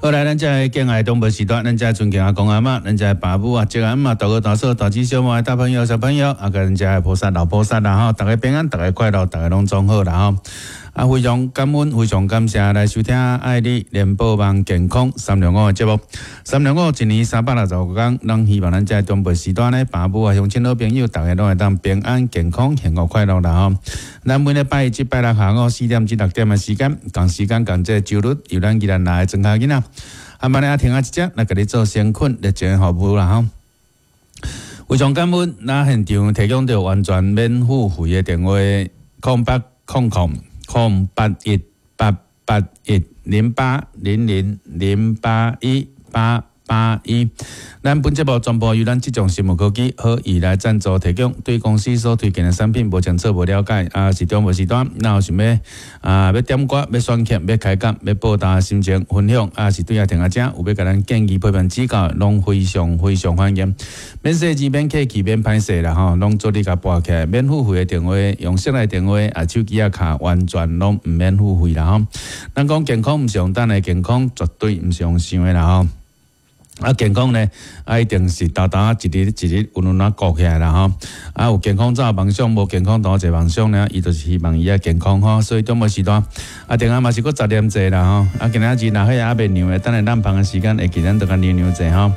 好來，咱遮的敬愛長輩時段，咱遮尊敬阿公阿嬤，咱遮的爸母啊、叔阿姆啊、大哥大嫂、大姊小妹、大朋友小朋友，啊，佮咱遮的菩薩老菩薩啦吼，逐家平安，逐家快樂，逐家攏總好啦吼。啊，非常感恩，非常感謝來收聽愛你聯播網健康三六五的節目。三六五一年365天，咱希望咱遮長輩時段呢，爸母啊、鄉親老朋友，逐家攏會當平安、健康、幸福、快樂啦吼。咱每禮拜一至拜六下午4點至6點的時間，仝時間仝這個週日，由咱宜蘭來的莊跤囡仔，啊，慢來聽仔一節來共你做先困熱情的服務啦吼。非常感恩，咱現場提供著完全免付費的電話：0800 008 1881 0800 081 881。咱本節目全部由咱這種生物科技好意來贊助提供。對公司所推薦的產品無清楚、無了解，啊是長輩時段，若有想欲啊欲點歌、欲選曲、欲開講、欲報道心情分享，啊是對阿聽阿遮有欲共咱建議、批評指教，攏非常非常歡迎。免細緻、免客氣、免歹勢啦吼，攏做你共撥起來，免付費的電話，用室內電話啊，手機仔卡完全攏毋免付費啦吼。咱講健康毋是用等的，健康絕對毋是用想的啦吼。啊，健康呢，啊，一定是沓沓一日一日穩穩仔顧起來啦吼。啊，有健康才有夢想，無健康當一個夢想呢，伊就是希望伊愛健康吼。所以長輩時段，啊，電話嘛是閣雜念濟啦吼。啊，今仔日若火猶未涼的，等下襤芳的時間會記咱就共涼涼者吼。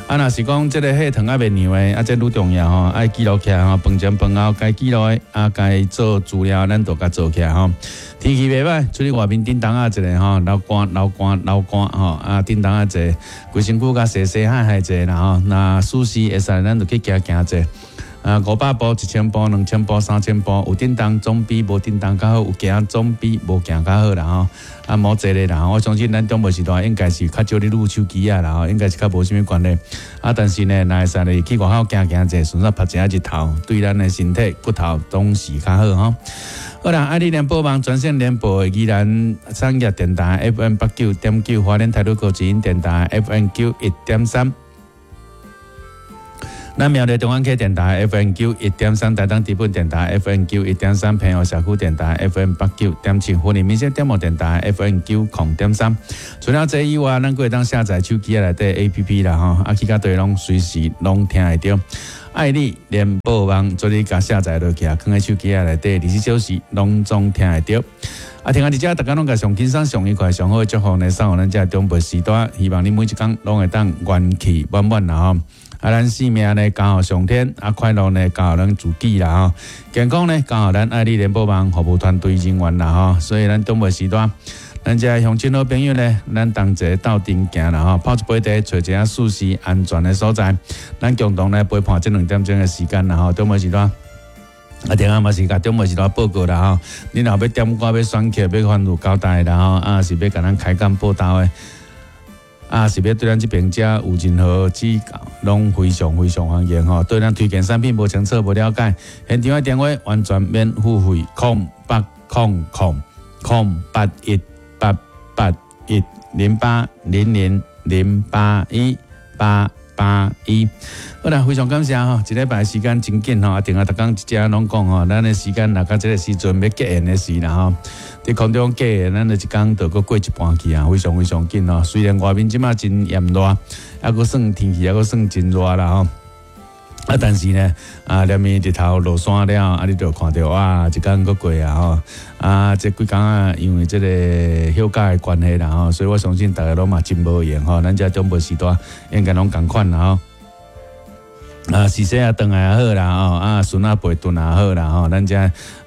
啊，若是講這個火糖猶未涼的，啊，這愈重要吼，愛記錄起來吼，飯前飯後該記錄的，啊，該做資料，咱都共做起來吼。天氣袂䆀，出去外面叮當仔一下吼，流汗流汗流汗吼，啊，叮當仔一下，規身軀共洗洗汗汗者啦吼。若舒適會使，咱就去行行者。啊，500步、1000步、2000步、3000步，有振動總比無振動較好，有行總比無行較好啦吼。啊，莫坐咧啦，我相信咱長輩時代應該是較少咧擼手機仔啦吼，應該是較無啥物關係。啊，但是呢，若會使咧去外口行行者，順便曬一下日頭，對咱的身體骨頭總是較好吼。好啦，愛你聯播網全省聯播的宜蘭產業電台 FM 89.9，花蓮台北高之音電台 FM 91.3。咱苗栗中安溪電台 FM 91.3，台東知本電台 FM 91.3，平湖社區電台 FM 89.7，雲林民生點播電台 FM 90.3。除了這以外，咱閣會當下載手機內底 APP 啦吼，啊去到佗攏隨時攏聽會著。愛你聯播網，做你共下載落去啊，囥佇手機內底，24小時攏總聽會著。啊，聽仔佇遮，逐家攏共上輕鬆、上愉快、上好的祝福呢，送予咱遮長輩時代，希望你每一工攏會當元氣滿滿啦吼。啊，咱性命呢交予上天，啊，快樂呢交予咱自己啦吼，健康呢交予咱愛你聯播網服務團隊人員啦吼。所以咱長輩時代，咱遮鄉親好朋友呢，咱同齊鬥陣行啦吼，泡一杯茶，揣一下舒適安全的所在，咱共同來陪伴這兩點鐘的時間啦吼。長輩時代。啊，電話嘛是共長輩時代報告啦吼，你若欲點歌、欲選曲、欲吩咐交代啦吼，啊是欲共咱開講報道的。啊，是欲對咱這邊遮有任何指教，攏非常非常歡迎吼。對咱推薦產品無清楚、無了解，現場的電話完全免付費，0800 008 1881 0800 081 881。好啦，非常感謝吼，一禮拜時間真緊吼，啊，定啊，逐工一遮攏講吼，咱的時間若到這個時陣欲結緣的時啦吼，佇空中結緣，咱就一工就閣過一半去啊，非常非常緊吼。雖然外面這馬真炎熱，啊，閣算天氣，啊，閣算真熱啦吼。啊，但是呢，啊，連綿日頭落山了，啊，你就看著哇，一工閣過啊吼，啊，這幾工啊，因為這個休假的關係啦吼，所以我相信逐家攏嘛真無閒吼，咱遮長輩時代應該攏仝款啦吼。啊，洗洗啊，轉來也好啦吼，啊，孫仔陪轉也好啦吼，咱遮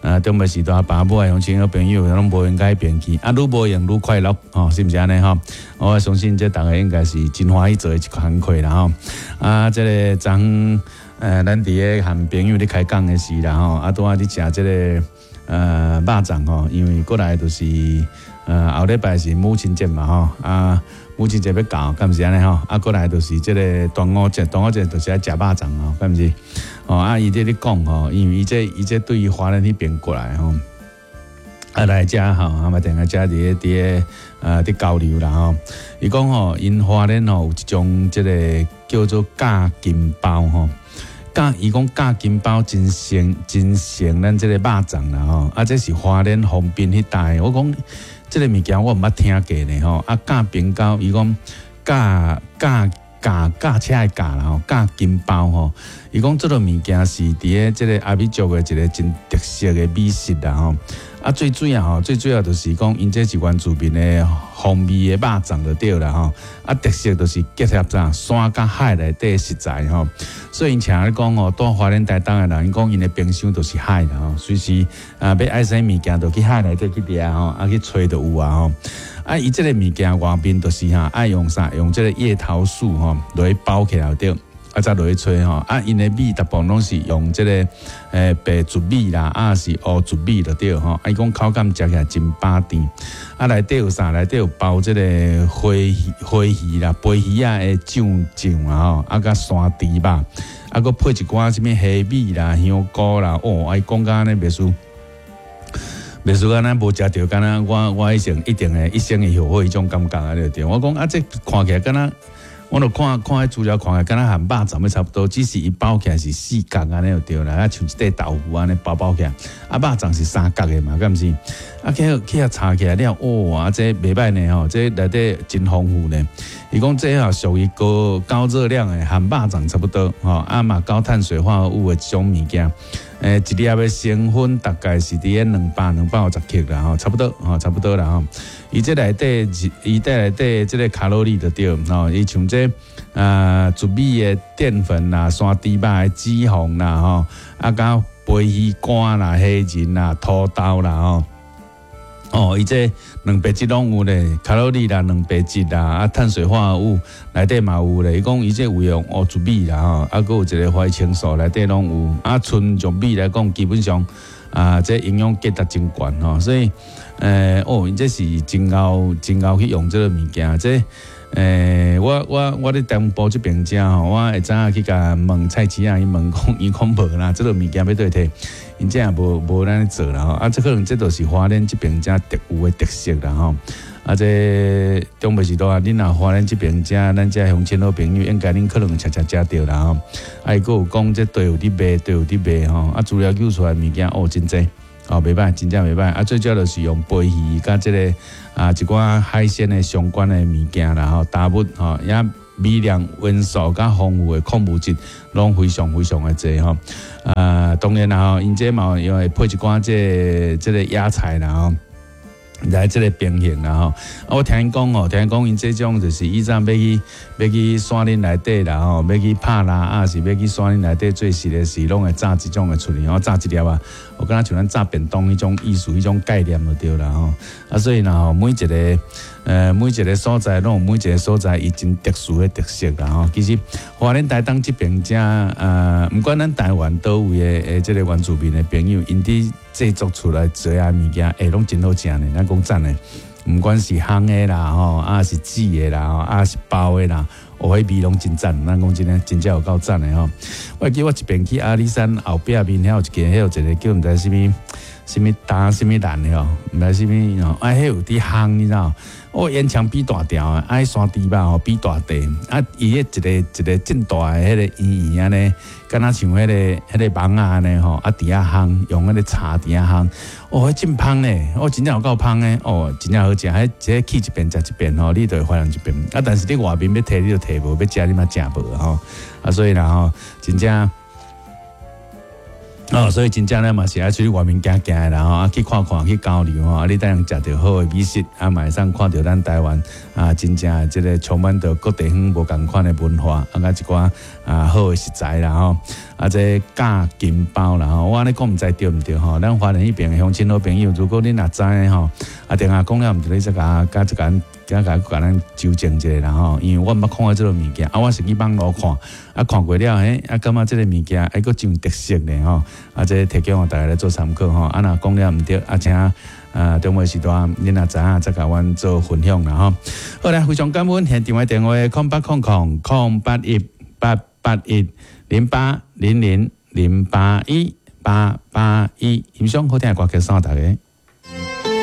啊，長輩時代爸母啊，鄉親好朋友攏無閒改變去，啊，愈無閒愈快樂吼，是毋是按呢吼？我相信這逐家應該是真歡喜做的一工課啦吼。啊，這個昨昏咱佇咧和朋友咧開講的時啦吼，啊，拄仔佇食這個肉粽吼，因為過來就是後禮拜是母親節嘛吼，啊。母親節欲到，敢毋是按呢吼？啊，過來就是這個端午節，端午節就是愛食肉粽吼，敢毋是？哦，啊，伊佇咧講吼，因為伊這伊這對花蓮彼邊過來吼，啊來遮吼，啊嘛定定遮佇咧佇咧佇交流啦吼。伊講吼，𪜶花蓮吼有一種這個叫做咬金包吼，咬伊講咬金包真成真成咱這個肉粽啦吼，啊，這是花蓮豐濱彼帶，我講。這个物件我毋捌聽過呢吼。啊，咖冰糕，伊講咖咖咖駕車的駕啦吼，咖金包吼。伊講這个物件是佇咧這个阿美族的一个真特色的美食啦吼。啊，最主要吼，最主要就是講，𪜶這是原住民的風味的肉粽就對啦吼。啊，特色就是結合啥山佮海內底食材吼。所以𪜶請咧講吼，蹛花蓮台東的人，𪜶講𪜶的冰箱就是海啦吼，隨時啊欲愛啥物件，就去海內底去掠吼，啊去揣就有啊吼。啊，伊這个物件外面就是哈，愛用啥？用這個葉桃素吼來包起來對。啊，才落去炊吼，啊，𪜶的米大部分攏是用這个白糯米啦，啊是烏糯米就對吼。啊，伊講口感食起來真飽甜。啊，內底有啥？內底有包這个花魚、花魚啦、飛魚仔的醬醬啊吼，啊，佮山豬肉，啊，閣配一寡啥物蝦米啦、香菇啦，哦，啊，伊講甲按呢袂輸。袂輸敢若無食著，敢若我我一生一定會一生會後悔彼種感覺啊！對對，我講啊，這看起來敢若。我著看看彼資料，看起來敢若和肉粽仔差不多，只是伊包起來是四角按呢就對啦，啊像一塊豆腐按呢包包起來。啊，肉粽是三角的嘛，敢毋是？啊，去去遐查起來了，哦，啊，這袂䆀呢吼，這內底真豐富呢。伊講這吼屬於高高熱量的，和肉粽差不多吼，啊嘛高碳水化合物的一種物件。一粒的成分大概是佇咧200、250克啦吼，差不多吼，差不多啦吼。伊這內底，伊這內底這个卡路里就對吼，伊像這糯米的澱粉啦、山豬肉的脂肪啦吼，啊佮飛魚乾啦、蝦仁啦、土豆啦吼。哦，伊這蛋白質攏有咧，卡路里啦、蛋白質啦，啊，碳水化合物內底嘛有咧。伊講伊這有用烏糯米啦吼，啊，閣有一個花青素內底攏有。啊，純玉米來講，基本上啊，這營養價值真懸吼，所以，哦，𪜶這是真𠢕真𠢕去用這个物件，這。我我我佇中部這爿食吼，我會早去共問菜市仔，伊問講，伊講無啦，這个物件欲佗佚，𪜶這也無無按呢做啦吼。啊，這可能這就是花蓮這爿遮特有的特色啦吼。啊，這中部時代，恁若花蓮這爿食，咱遮鄉親好朋友，應該恁可能常常食著啦吼。啊，伊閣有講這佗有佇賣，佗有佇賣吼。啊，資料揪出來物件哦，真濟。哦，袂䆀，真正袂䆀。啊，最主要就是用飛魚佮這个啊一寡海鮮的相關的物件啦吼，雜物吼，也微量元素佮豐富的礦物質，攏非常非常的濟吼。啊，當然啦吼，𪜶這嘛因為配一寡這這个野菜啦吼。來這个平衡啦吼，啊，我聽𪜶講吼，聽𪜶講𪜶這種就是以前欲去欲去山林內底啦吼，欲去拍獵啊，是欲去山林內底做事的時，攏會炸這種的出來吼，炸一粒啊，有敢若像咱炸便當彼種意思，彼種概念就對啦吼。啊，所以啦吼，每一个每一个所在攏有每一个所在伊真特殊的特色啦吼。其實花蓮台東這爿遮，毋管咱台灣佗位的的這个原住民的朋友，𪜶佇製作出來做的物件，欸，攏真好食呢。咱講真的，毋管是烘的啦吼，啊是煮的啦吼，啊是包的啦，哦，彼味攏真讚。咱講真的，真正有夠讚的吼。我會記我一遍去阿里山後壁面遐有一間，彼有一个叫毋知啥物。啥物焦啥物蘭的吼，毋知啥物吼，啊，彼有佇烘，你知無？哦，煙腸比大條的，啊，彼山豬肉吼比大塊，啊，伊彼一个一个真大的彼个圓圓按呢，敢若像彼个彼个網仔按呢吼，啊，佇遐烘，用彼个柴佇遐烘，哦，彼真芳咧，哦，真正有夠芳的，哦，真正好食，彼這去一遍食一遍吼，你就會懷念一遍。啊，但是你外面欲提你就提無，欲食你嘛食無吼，啊，所以啦吼，真正。哦，所以真正咧嘛是愛出去外面行行的啦吼，啊去看看去交流吼，啊你當食著好的美食，啊嘛會使看著咱台灣啊真正的這个充滿著各地方無仝款的文化，啊佮一寡啊好的食材啦吼，啊這咖金包啦吼，我按呢講毋知對毋對吼？咱花蓮彼爿的鄉親好朋友，如果恁若知吼，啊電話講了毋對，你再共佮一間。加共共咱糾正一下啦吼，因為我毋捌看過這个物件，啊，我是去網路看，啊，看過了，嘿，啊，感覺這个物件還閣真有特色呢吼，啊，這提供予大家來做參考吼，啊，若講了毋對，啊，請啊中午時段恁若知影再共阮做分享啦吼。好啦，非常感恩，現場的電話0800 081 881，0800 081 881，欣賞好聽的歌曲送予大家。